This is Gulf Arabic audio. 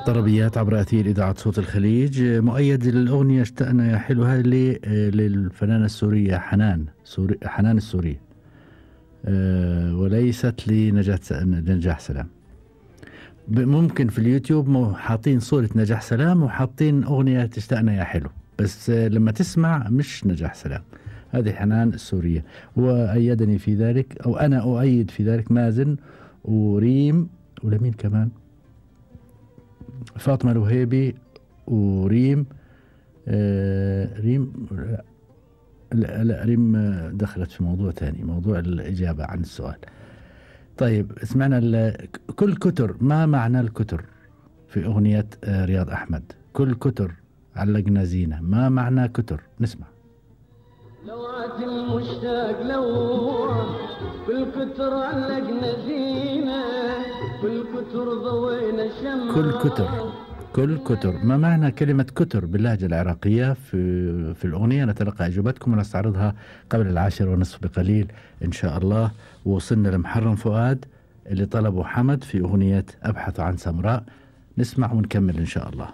طربيات عبر أثير إذاعة صوت الخليج. مؤيد الأغنية اشتقنا يا حلو، هذه للفنانة السورية حنان السورية، وليست لنجاح سلام. ممكن في اليوتيوب حاطين صورة نجاح سلام وحاطين أغنية اشتقنا يا حلو، بس لما تسمع مش نجاح سلام، هذه حنان السورية. وأيدني في ذلك، أو أنا أؤيد في ذلك، مازن وريم، ولمين كمان، فاطمة الوهيبي وريم. ريم لا ريم دخلت في موضوع ثاني، موضوع الإجابة عن السؤال. طيب اسمعنا كل كتر. ما معنى الكتر في أغنية رياض أحمد؟ كل كتر علقنا زينة، ما معنى كتر؟ نسمع. لوعة المشتاق لو كل كتر علقنا زينة، كل كتر ضوينا شمع. كل كتر ما معنى كلمة كتر باللهجة العراقية في الأغنية؟ نتلقى إجابتكم ونستعرضها قبل 10:30 بقليل إن شاء الله. ووصلنا لمحرم فؤاد اللي طلبه حمد في أغنية أبحث عن سمراء. نسمع ونكمل إن شاء الله.